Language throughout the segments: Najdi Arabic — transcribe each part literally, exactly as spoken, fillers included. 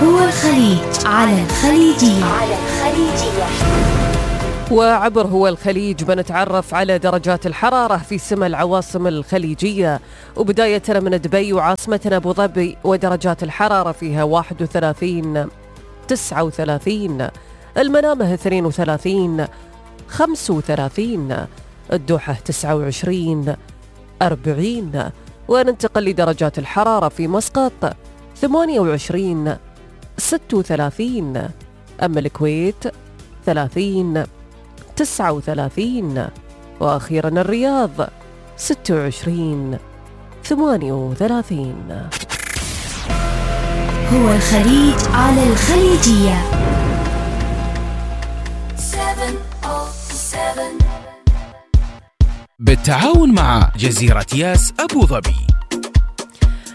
هو الخليج على الخليجية. على الخليجية. وعبر هو الخليج بنتعرف على درجات الحرارة في سما العواصم الخليجية، وبداية من دبي وعاصمتنا أبو ظبي ودرجات الحرارة فيها واحد وثلاثين، تسعة وثلاثين، المنامة اثنين وثلاثين، خمسة وثلاثين، الدوحة تسعة وعشرين، أربعين. وننتقل لدرجات الحرارة في مسقط ثمانية وعشرين، ستة وثلاثين، أما الكويت ثلاثين، تسعة وثلاثين، وأخيرا الرياض ستة وعشرين، ثمانية وثلاثين. هو الخليج على الخليجية. بالتعاون مع جزيرة ياس أبو ظبي.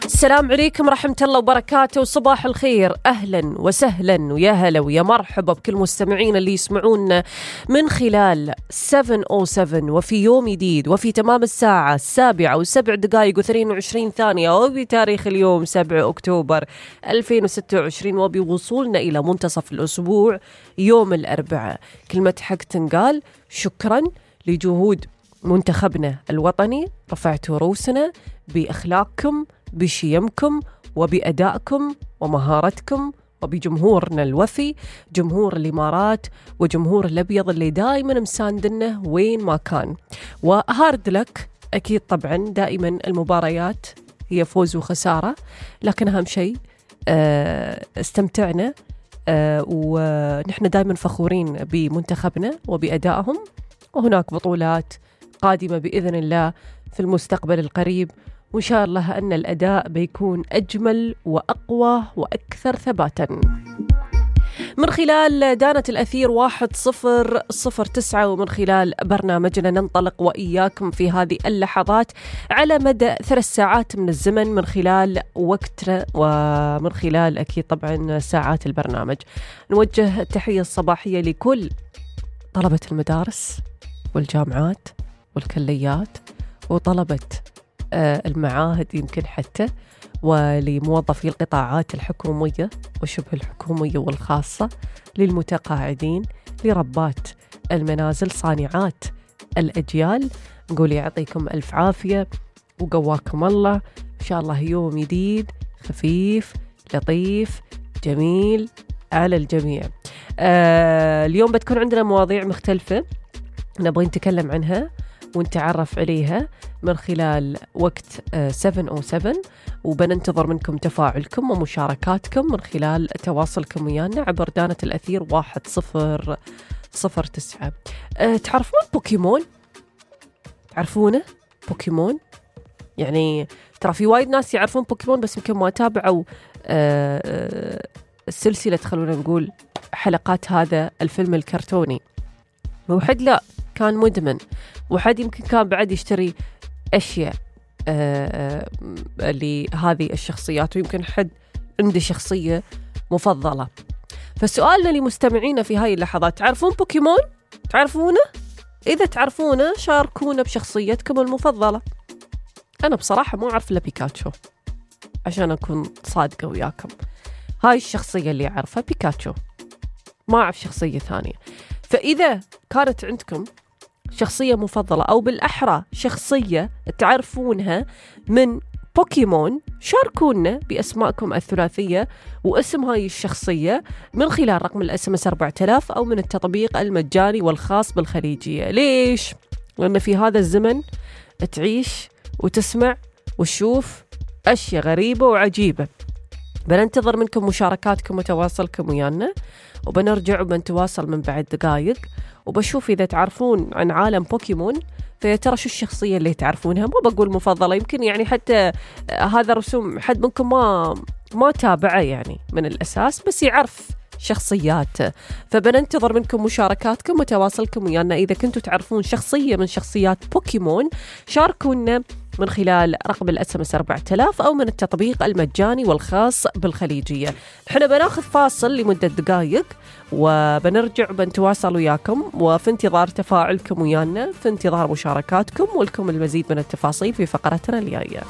السلام عليكم ورحمة الله وبركاته، وصباح الخير، أهلا وسهلا ويا هلا ويا مرحبا بكل مستمعين اللي يسمعون من خلال سبعة أو سبعة وفي يوم جديد وفي تمام الساعة السابعة وسبع دقائق واثنين وعشرين ثانية وبتاريخ اليوم سبعة أكتوبر ألفين وستة وعشرين وبوصولنا إلى منتصف الأسبوع يوم الأربعاء. كلمة حق تنقال شكرا لجهود منتخبنا الوطني، رفعتوا رؤوسنا بأخلاقكم بشيمكم وبأدائكم ومهارتكم وبجمهورنا الوفي، جمهور الإمارات وجمهور الأبيض اللي دائما مساندنا وين ما كان. وهارد لك أكيد طبعا، دائما المباريات هي فوز وخسارة، لكن أهم شيء استمتعنا ونحن دائما فخورين بمنتخبنا وبأدائهم، وهناك بطولات قادمة بإذن الله في المستقبل القريب، وإن شاء الله أن الأداء بيكون أجمل وأقوى وأكثر ثباتا. من خلال دانة الأثير واحد صفر صفر تسعة ومن خلال برنامجنا ننطلق وإياكم في هذه اللحظات على مدى ثلاث ساعات من الزمن من خلال وقتنا ومن خلال أكيد طبعا ساعات البرنامج. نوجه التحية الصباحية لكل طلبة المدارس والجامعات والكليات وطلبة المعاهد يمكن حتى، ولموظفي القطاعات الحكومية وشبه الحكومية والخاصة، للمتقاعدين، لربات المنازل، صانعات الأجيال، نقول يعطيكم ألف عافية وقواكم الله. إن شاء الله يوم جديد خفيف لطيف جميل على الجميع. آه اليوم بتكون عندنا مواضيع مختلفة نبغى نتكلم عنها ونتعرف عليها من خلال وقت سبعة أو سبعة، وبننتظر منكم تفاعلكم ومشاركاتكم من خلال تواصلكم ويانا عبر دانة الأثير واحد صفر صفر تسعة. أه تعرفون بوكيمون؟ تعرفونه بوكيمون؟ يعني ترى في وايد ناس يعرفون بوكيمون بس يمكن ما تابعوا أه أه السلسلة، خلونا نقول حلقات هذا الفيلم الكرتوني. وحد لا كان مدمن، وحد يمكن كان بعد يشتري أشياء آه آه لهذه الشخصيات، ويمكن حد عنده شخصية مفضلة. فسؤالنا لمستمعينا في هاي اللحظات، تعرفون بوكيمون؟ تعرفونه؟ إذا تعرفونه شاركونا بشخصيتكم المفضلة. أنا بصراحة ما أعرف إلا بيكاتشو، عشان أكون صادقة وياكم، هاي الشخصية اللي أعرفها بيكاتشو، ما أعرف شخصية ثانية. فإذا كانت عندكم شخصية مفضلة أو بالأحرى شخصية تعرفونها من بوكيمون، شاركونا بأسماءكم الثلاثية واسم هاي الشخصية من خلال رقم الاس ام اس أربعة آلاف أو من التطبيق المجاني والخاص بالخليجية. ليش؟ لأن في هذا الزمن تعيش وتسمع وتشوف أشياء غريبة وعجيبة. بننتظر منكم مشاركاتكم وتواصلكم ويانا، وبنرجع وبنتواصل من بعد دقائق، وبشوف إذا تعرفون عن عالم بوكيمون فيا ترى شو الشخصية اللي تعرفونها. ما بقول مفضلة، يمكن يعني حتى هذا رسوم حد منكم ما ما تابعه يعني من الأساس، بس يعرف شخصيات. فبننتظر منكم مشاركاتكم وتواصلكم ويانا. إذا كنتوا تعرفون شخصية من شخصيات بوكيمون شاركونا من خلال رقم الاس ام اس أربعة آلاف أو من التطبيق المجاني والخاص بالخليجية. احنا بناخذ فاصل لمدة دقائق وبنرجع بنتواصل وياكم، وفي انتظار تفاعلكم ويانا، في انتظار مشاركاتكم ولكم المزيد من التفاصيل في فقرتنا الجاية.